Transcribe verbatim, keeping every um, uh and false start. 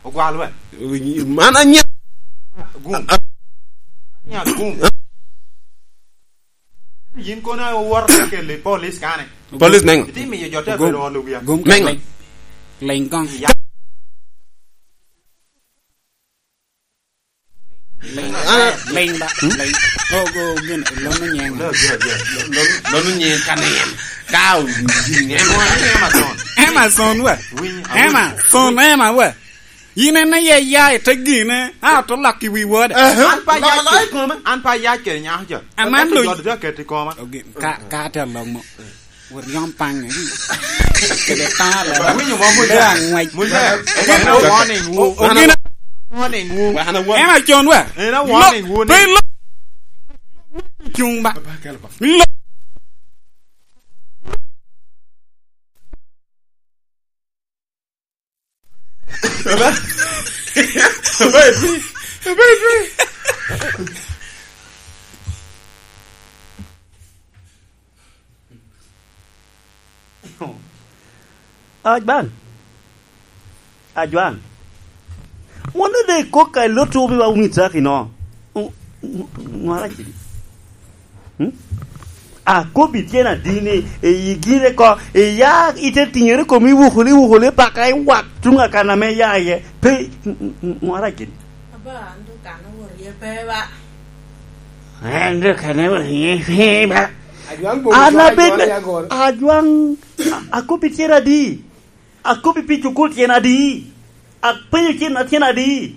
Ogwal we. Man anya. Gum. Anya gum. Yin kono owoto ka kelo i police kane. Police nengo? Itye miyo jo te bedo olo wiya. Gum ka leng. Leng gong. Ya. Leng, ah, leng ba, leng. Oh, go, gin, lono nyeng. Lo, lo, lo. Lono, lono nyeng ka nen. Ka o-, nyeng. Emma son. Emma son we. Winy, Emma son, Emma we. Yin en aye ya i te gine, a to lak i wi wode. An pa yac kede koma, an pa yac kede nyako jo. Aman lo. Jot te ket i koma. Ogi-, ka, ka te lok mo. Wot yom paŋ, eh. Kede paŋ alaba. Winyo mo, Muja. Bedo aŋwec. Muja. Gin a warning wu. O-, o-, gin a warning wu. Wan a warning. En a con wa. En a warning wu ni. Pe lo. Cuŋ ba. Lo. Aba, aba etwi, aba etwi. Ajwan. Ajwan. Won de kok ka lotto bi wa wun itaki no. Ŋwara kidi. Hmm? Akobbi tyen adi ni, i gire ko, iya ite tiŋere komi iwukuli, iwukuli paka iwak tuŋ akan ame iya iye. Pe, ŋwara kidi. Aba, an dok kan awot iye pe ba. An dok kan awot iye pe ba. Ajwaŋ bobo. An cwalo abed Ajwaŋ me, ya goro. Ajwaŋ, a-, akobbi tyen adi? Akobbi pi cukul tyen adi? Apenyo tyen, tyen adi?